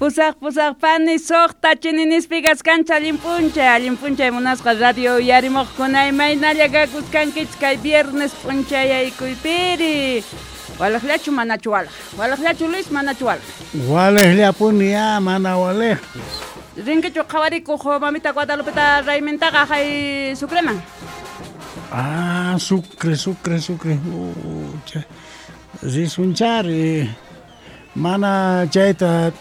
Pusaq pusaq pani suqta chininispi kaskanchik allin p'unchay munasqa radio uyarimuqkuna imaynalla kakuskankichik kay viernes p'unchayaykuypiri. Walaqllachu manachu walaq? Walaqllachu Luis manachu walaq? Walaqllapuni ya mana walaqpis. Rinkichu qhawarikuq mamita Guadalupeta raymintaqa hay Sucreman? Ah, Sucre, Sucre, Sucre. Risunchari. Mana chayta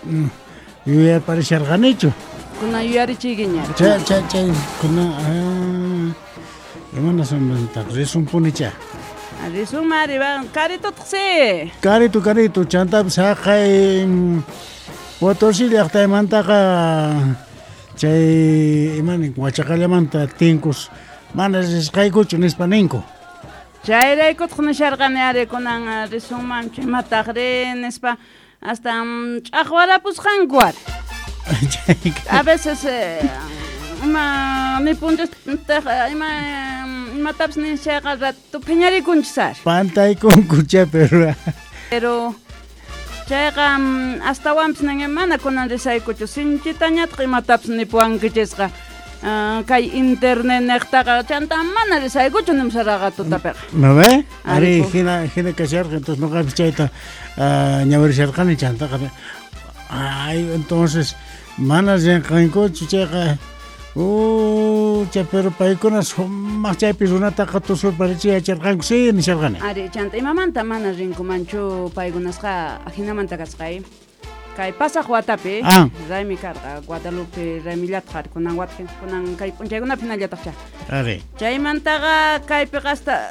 yuyarparisharqanichu. Kunan yuyarichiykiña. Chay chay chay kunan imanasmantaq risunpunicha. Risunmari karitutaq si. Karitu karitu chantapis haqay Potosí llaqtaymantaqa chay imanin Huachacallamanta tinkus mana risqaykuchu nispa ninku. Chayraykutaq nisharqani ari kunan risunmanchu imataq ri nispa hasta ch'aqwarapusqanku ari. A veces ima nipunchistaq ima imatapis nishayqa rato phiñarikunchis ari. Pantaykunku chay pero Pero chayqa astawanpis nin mana kunan risaykuchu sinchitañataq imatapis nipuwankichisqa. Kay internet niqtaqa chanta mana risaykuchu nimusaraqa tutapiqa. ¿No ve? Ari hina hina kasharqa entonces nuqapis chayta ñawirisharqani chantaqa. Ay, entonces mana rinqankuchu chayqa chay pero paykuna sumaq chaypi runataqa tusurparichiy yacharqanku si nisharqani. Ari chanta imamanta mana rinkumanchu paykunasqa ajinamanta kasqay. Kay pasaq watapi raymi karqa Guadalupe raymillataq ari kunan wata kunan kay p'unchaykunapi hinallataqcha. Ari. Chaymantaqa kaypiqa hasta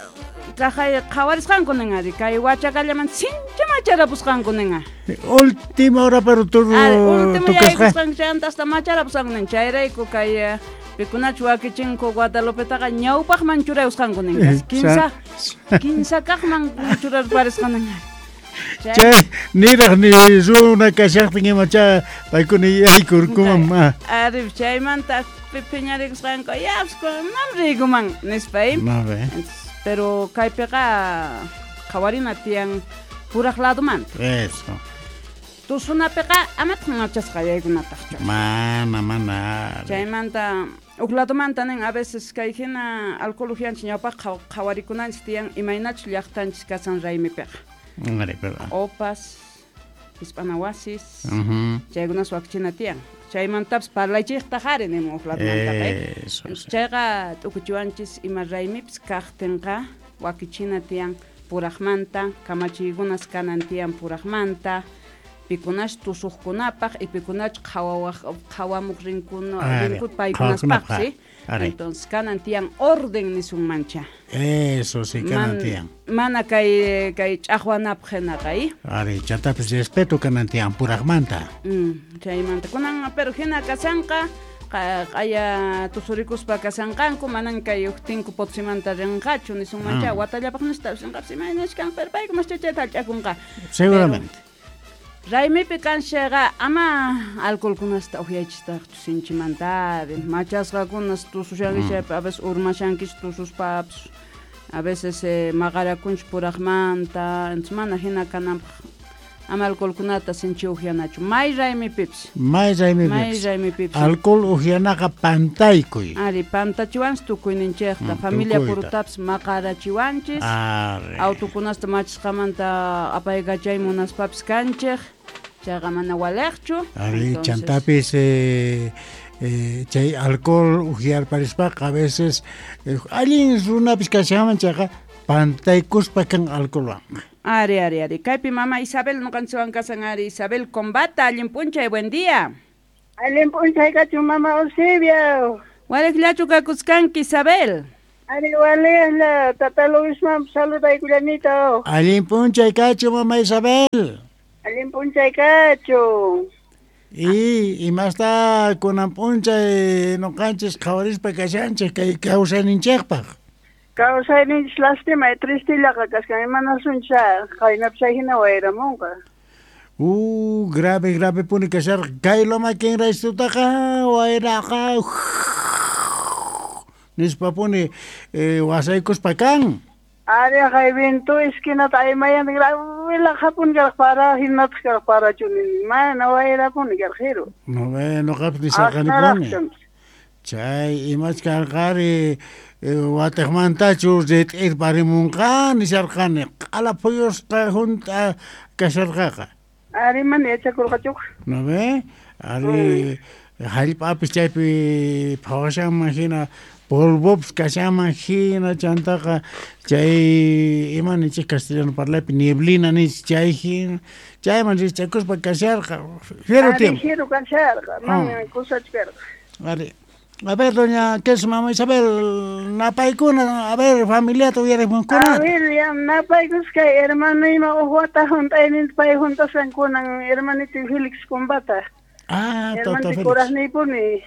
kaqay qhawarisqanku nin ari kay Huachacallamanta sinchi macharapusqanku nin. Última hora pero último yaykusqanku chayanta hasta macharapusqanku nin chayrayku kay pikunachu wakichinku Guadalupetaqa ñawpaqman churayusqanku nin kinsa kaqman churarparisqan nin. Chay niraq ni runa kashaqtin imacha paykuna yaykurkuman. Ari chaymanta phiñarikusqanku yapis manam riykuman nispa. Pero kaypiqa qhawarina tiyan puraq ladomanta. Eso. Tusunapiqa amataq machasqa yaykunataqchu. Mana mana. Chaymanta huk ladomanta nin a veces kay hina alcohol uhianchik ñawpaq qhawarikunanchik tiyan imaynachu llaqtanchik kasan raymipiqa. Opas, hispana wasis, chaykunas wakichina tiyan. Chaymantapas parlaychiqtaq ari nimun huk ladomantaqa. Chayqa t'ukuchiwanchis ima raymipis kaqtinqa wakichina tiyan puraqmanta, kamachiykunas kanan tiyan puraqmanta, pikunash tusuqkunapaq y pikunach qhawamuq rinkuna rinku paykunaspaq, ¿sí? Entonces kanan tiyan orden nisunmancha. Eso sí, kanan tiyan. Mana kay kay ch'aqwanapaq hinaqa. Ari, chantapis respeto kanan tiyan puraqmanta. Chaymanta kunan pero hina kasanqa q'aya tusurikuspa kasanqanku manan kay uqtinku Potosímanta rinqachu nisunmancha watallapaq nistapis rinqapis imaynachkan pero paykunas chayta hallch'akunqa. Seguramente. Raymipi kanchayqa ama alcoholkunasta uhyaychistaqchu sinchimanta machasqakunas tusushankichik chaypi a veces urmashankichik tususpapis a veces maqarakunchik puraqmanta entonces mana hina kananpaq ama alcoholkunata sinchi uhyanachu may raymipipis. May raymipipis. May raymipipis. Alcohol uhyanaqa pantaykuy. Ari pantachiwanchik tukuyninchikta familia purutapis maqarachiwanchis. Autokunasta machisqamanta apaykachay munaspapis kanchik. Chayqa mana waliqchu. Ari chantapis chay alcohol uhyarparispaqa a veces allin runapis kashanman chayqa pantaykuspa kan alcoholwan. Ari, ari, ari. Kaypi mama Isabel nuqanchikwan kasan ari Isabel Combata, allin p'unchay, buen día. Allin p'unchay kachun mama Eusebio. Waliqllachu kakuskanki Isabel. Ari waliqla, tata Luisman saludaykullanito. Allin p'unchay kachun mama Isabel. Allin p'unchay kachun. Y imasta kunan p'unchay nuqanchis qhawarispa kashanchik kay kawsayninchikpaq. Kawsayninchis lastima tristillaqa kaskan imanasuncha qaynapis hina wayramunqa. Grave grave puni kasharqa kay Loma Kinraystutaqa wayraqa nispa puni wasaykuspa kan. Ari hay viento esquinata aymayan grave Laqhapuni karqa para hinataq karqa parachu nini mana wayrapuni karqa jiru. No ve, noqapis nisharqanipuni. Chay imach karqari watiqmantachu rit'irparimunqa nisharqani q'ala phuyusqa hunt'a kasharqaqa. Ari mana yachakurqachuqa. No ve, ari hallp'apis chaypi phawashanman hina polvopis kashanman hina chantaqa chay ima ninchik castellano parlaypi nieblina ninchik chay hina chayman rich'akuspa kasharqa fiero tiempo. Ari kasharqa, mana kusachu karqa. Ari. A ver, doña, ¿qué es mamá Isabel? Napaykuna, a ver, familiata uyarimunkuna. A ver, ya napaykusqa hermano ima uj wata hunt'ayninta pay huntasqan kunan hermanito Félix Combata. Ah, tata Félix. Kuraqniypuni.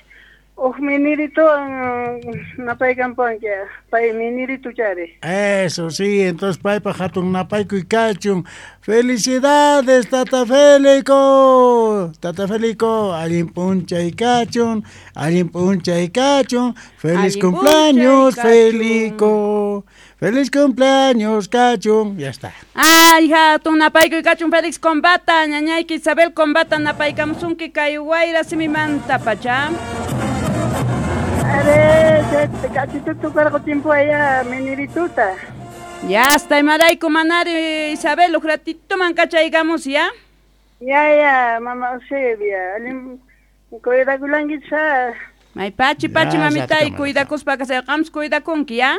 Uj minirituwan napaykampuwanki, pay miniritu chari. Eso sí, entonces paypa hatun napaykuy kachun. Felicidades, Tata Félico. Tata Félico, allin p'unchay kachun, allin p'unchay kachun. Feliz cumpleaños, Félico. Feliz cumpleaños, kachun. Ya está. Ay, hatun napaykuy kachun, Félix Combata, ñañayki Isabel Combata, napaykamusunki kay wayra simimanta pacha. Are, kachitutu karqa tiempo allá minirituta. Ya hasta imarayku manari Isabel, uj ratito man kachaykamos ya. Ya, ya, mama Eusebia, allin cuidakulankicha. May pachi, pachi, mamitay, cuidakuspa kasay, qams cuidakunki, ya.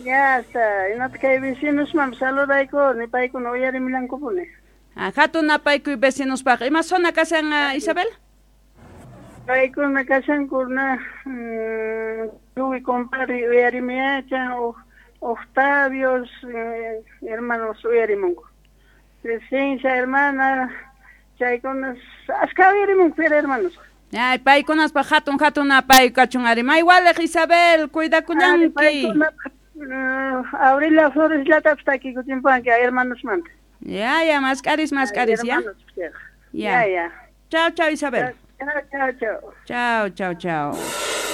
Ya está, imata kay vecinosman saludayku, nipaykuna uyarimilankupuni. Ah, hatun napaykuy vecinospaq. Ima zona kashan Isabel? Paykuna kashankuna tukuy compadre uyarimiyachan, Octavios, hermanos uyarimunku. Crescencia, hermana, chaykunas ashka uyarimunku, pero hermanos. Ay, paykunaspaq hatun hatun napay kachun ari. May waliq Isabel, cuidakullanki. Aurelia Flores llatapis takikuchimpanki hermanosmanta. Ya, ya, mask'aris, mask'aris, ya. Ya, ya. Chao, chao, Isabel. Chao, chao, chao. Chao, chao, chao.